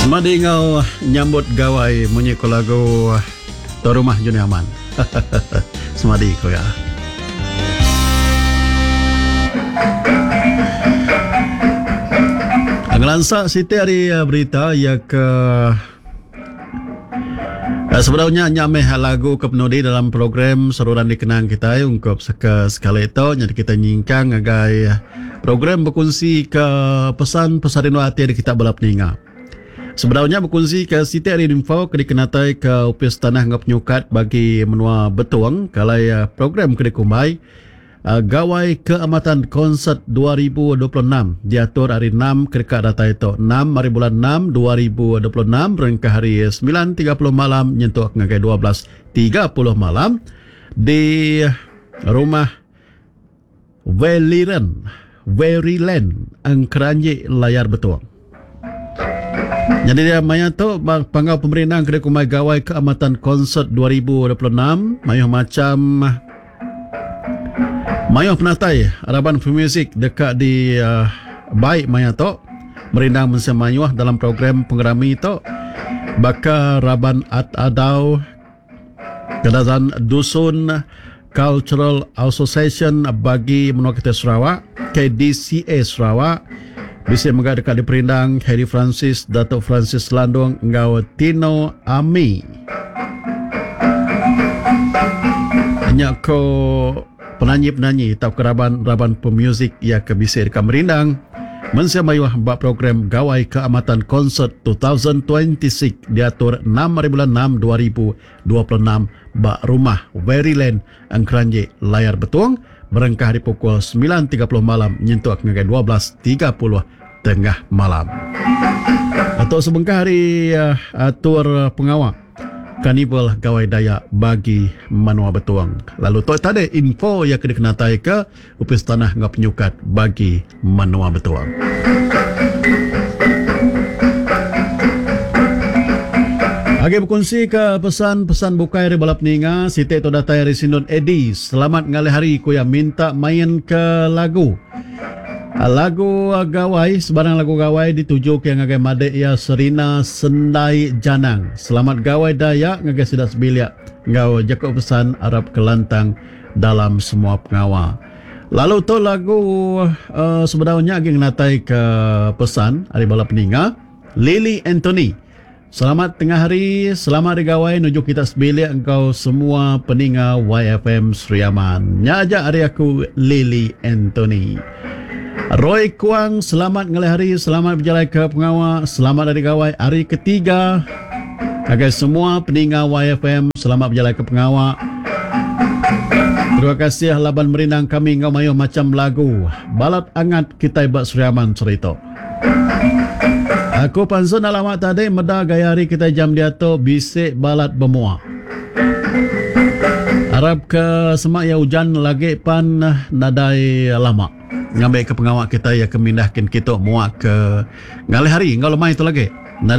Semadi enggau nyambut gawai munyi ko lagu Tuan Rumah Juni Aman. Semadi ko iya. Ngelansa siti ari berita iya ke Sebedau nya nya meh lagu ke penudi dalam program seruran dikenang kitai ungkup seke sekali tu nyadi kitai nyingkang ngagai program bekunsi ke pesan pesan rindu ati ari kita bala peninga. Sebedau nya bekunsi ke siti ari info ke dikenatai ke Opis Tanah enggau Penyukat bagi menua Betong ke alai program ke dikumbai Gawai Keamatan Konsert 2026 diatur hari Enam ke deka datai tu, enam hari bulan Enam 2026 berengkah hari 9:30 malam nyentuk ngagai 12:30 malam di Rumah Veliren, Veryland, Engkeranji Layar Betong. Nyadi dia maya tu ba panggau pemerindang ke dikumbai Gawai Keamatan Konsert 2026 mayuh macham mayuh penatai raban pemuzik deka di uh, bai maya tu merindang mensia mayuh dalam program pengerami tu baka raban At Adau Kadazan Dusun Cultural Association bagi menua kitai Sarawak, KDCA Sarawak, bisi mega deka diperindang Harry Francis, Datuk Francis Landong enggau Tino Ami. Nya ko penanyi-penanyi tauka raban-raban pemuzik iya ke bisi deka merindang mensia mayuh ba program Gawai Keamatan Konsert 2026 diatur enam hari bulan enam 2026 ba Rumah Veryland Engkeranji Layar Betong berengkah ari pukul 9:30 malam nyentuk ngagai 12:30 tengah malam. Tu sebengkah ari atur pengawa Karnival Gawai Dayak bagi menua Betong. Lalu tu tadi info iya ke dikenataika Opis Tanah enggau Penyukat bagi menua Betong. Agi bekunsi ke pesan-pesan bukai ari bala peninga, siti tu datai ari Sindun Eddie. Selamat ngalih hari ku iya minta main ke lagu. Lagu Gawai, sebarang lagu Gawai dituju ke ngagai madik iya Serina Sendai Janang. Selamat Gawai Dayak ngagai sida sebilik enggau jaku pesan arap ke lantang dalam semua pengawa. Lalu tu lagu uh, sebedau nya agi ngenatai ke pesan ari bala peninga Lily Anthony. Selamat tengah hari, selamat hari gawai nuju kita sebilik enggau semua peninga YFM Sri Aman. Nya aja ari aku Lily Anthony. Roy Kuang, selamat ngalih hari, selamat bejalai ke pengawa, selamat hari gawai hari ketiga. Ngagai semua peninga YFM, selamat bejalai ke pengawa. Terima kasih laban merindang kami enggau mayuh macam lagu. Balat angat kitai ba Sri Aman seri tu. Aku pansut enda lama tadi meda gaya hari kitai jam diatu bisi balat bemua. Arap ke sema iya ujan lagi pan nadai lama ngambi ke pengawa kitai iya ke mindah kin kitu mua ke ngalih hari enggau lemai tu lagi.